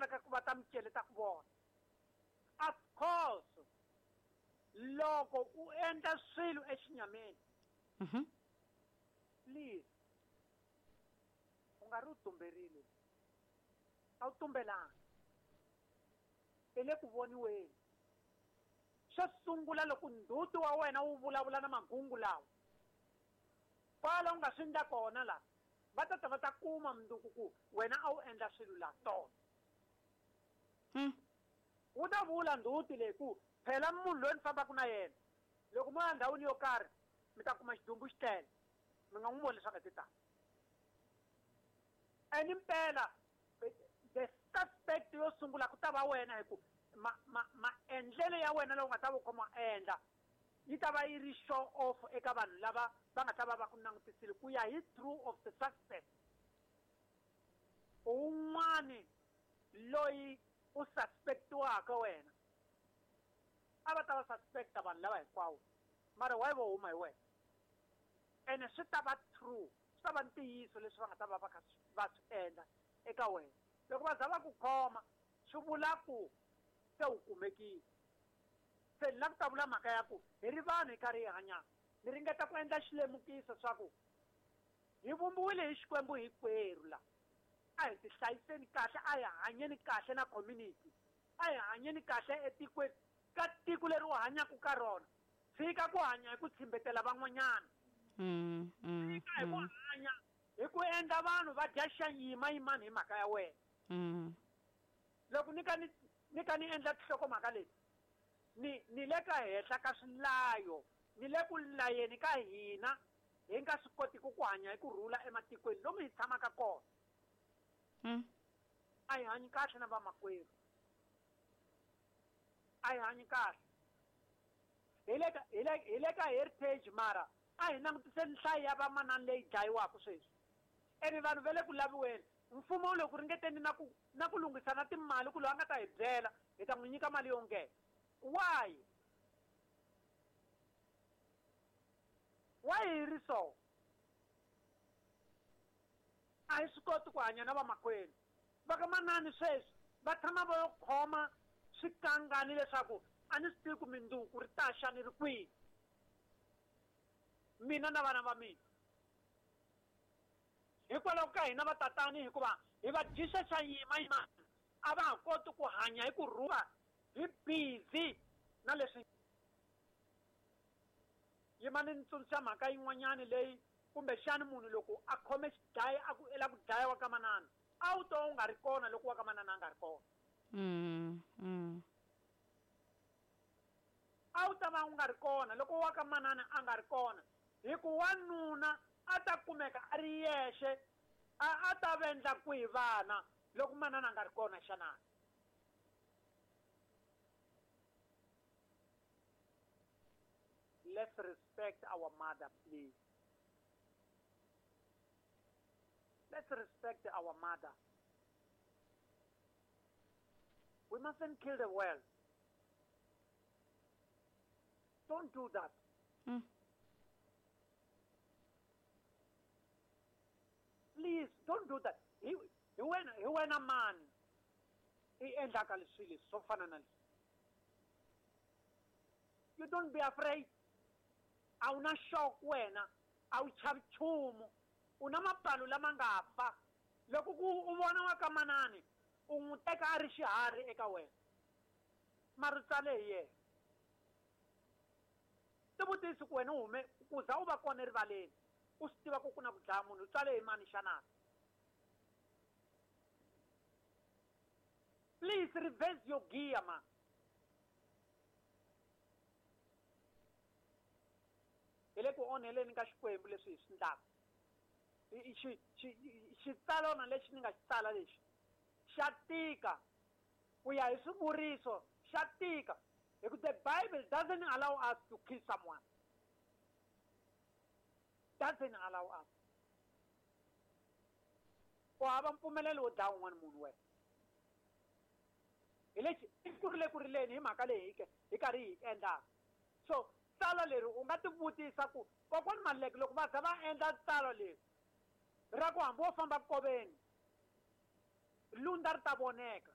laveka ku va ta micele ta ku vona. Of course loko u endla swilo exinyameni, please u nga ri u tumberile, a wu tumbelanga, i le ku voniweni. Xo sungula loko ndzhuti wa wena wu vulavula na magungu lawa, kwala u nga swi endla kona la, va ta ta va ta kuma mundzuku ku wena a wu endla swilo la tona. Wu ta vula ndzhuti leyi ku phela munhu loyi ni fambaka na yena, loko mo ya ndhawini yo karhi mi ta kuma xidumbu xi tlele, mi nga n'wi voni leswaku ti ta. And impela the suspect yo sungula ku ta va wena, hi ku maendlelo ya wena lowu nga ta va u kha ma endla yi ta va yi ri show off eka vanhu lava va nga ta va va ku langutisile ku ya hi true of the suspect. Un'wani loyi u suspectiwaka wena, a va ta va suspecta vanhu lava hinkwawo, mara why vo huma hi wena? Ene swi ta va true, swi ta va ntiyiso leswi va nga ta va va kha va swi endla eka wena. Loko va za va ku khoma, swi vula ku se u kumekile. Se ni lava ku ta vula mhaka ya ku hi ri vanhu hi karhi hi hanyaka, ni ringeta ku endla xilemukiso swa ku hi vumbiwile hi Xikwembu hinkwerhu la. A hi tihlayiseni kahle, a hi hanyeni kahle na community, a hi hanyeni kahle etikweni, ka tiko leri u hanyaka ka rona. Tshika ku hanya hi ku tshimbetela van'wanyana. Tshika hi ku hanya hi ku endla vanhu va dya xa yimayimani hi mhaka ya wena. Loko ni ka ni ni ka ni endla tinhlokomhaka leti, ni le ka henhla ka swilayo, ni le ku layeni ka hina hi nga swi kotiki ku hanya hi ku rhula ematikweni lomu hi tshamaka kona. A hi hanyi kahle na vamakwerhu, a hi hanyi kahle. Hi le ka heritage, mara a hi langutiseni nhlayo ya vamanani leyi dlayiwaka sweswi. Ene vanhu va le ku laviweni, mfumo wu le ku ringeteni na ku lunghisa na timali ku loyi a nga ta hi byela hi ta n'wi nyika mali yo nghena. Why hi ri so? A hi swi koti ku hanya na vamakwenu. Va ka manani sweswi va tshama va yo khoma swikangani leswaku a ni swi tivi ku mindzuku ri ta xa ni ri kwihi, mina na vana va mina, hikwalaho ka hina vatatani, hikuva hi va dyisa xa yimayimani, a va ha koti ku hanya hi ku rhula, hi busy na leswi. Yimani ni tsundzuxa mhaka yin'wanyani leyi kumbexani munhu loko a khome xidlaya a ku i lava ku dlaya wa ka manana, a wu to u nga ri kona loko wa ka manana a nga ri kona. A wu ta va u nga ri kona loko wa ka manana a nga ri kona, hi ku wanuna a ta kumeka a ri yexe, a ta vendla kwihi vana loko manana a nga ri kona xana? Let's respect our mother, please. Let's respect our mother. We mustn't kill the world. Don't do that. Please don't do that. Hi wena mani i endlaka leswi leswi swo fana na leswi? You don't be afraid. A wu na shock wena, a wu chavi nchumu, u na mapfalo lama nga fa. Loko ku u vona wa ka manani, u n'wi teka a ri xiharhi eka wena, mara u tsale hi yena. Tivutisi ku wena u hume ku za u va kona erivaleni, u swi tiva ku ku na ku dlaya munhu, u tsale hi mani xana? Please reverse your gear, man. Hi le ku onheleni ka Xikwembu leswi hi swi endlaka. Xitsalwana lexi ni nga xi tsala lexi xa tika ku ya hi swivuriso, xa tika hi ku the Bible doesn't allow us to kill someone, doesn't allow us. U hava mpfumelelo wo dlaya un'wana munhu wena. Hi lexi i ku ri le ku rileni hi mhaka leyi hi karhi hi endlaka. So tsalwa leri u nga tivutisa ku kokwani Maluleke loko va za va endla tsalwa leri ra ku hambi wo famba koveni lunda ri ta voneka.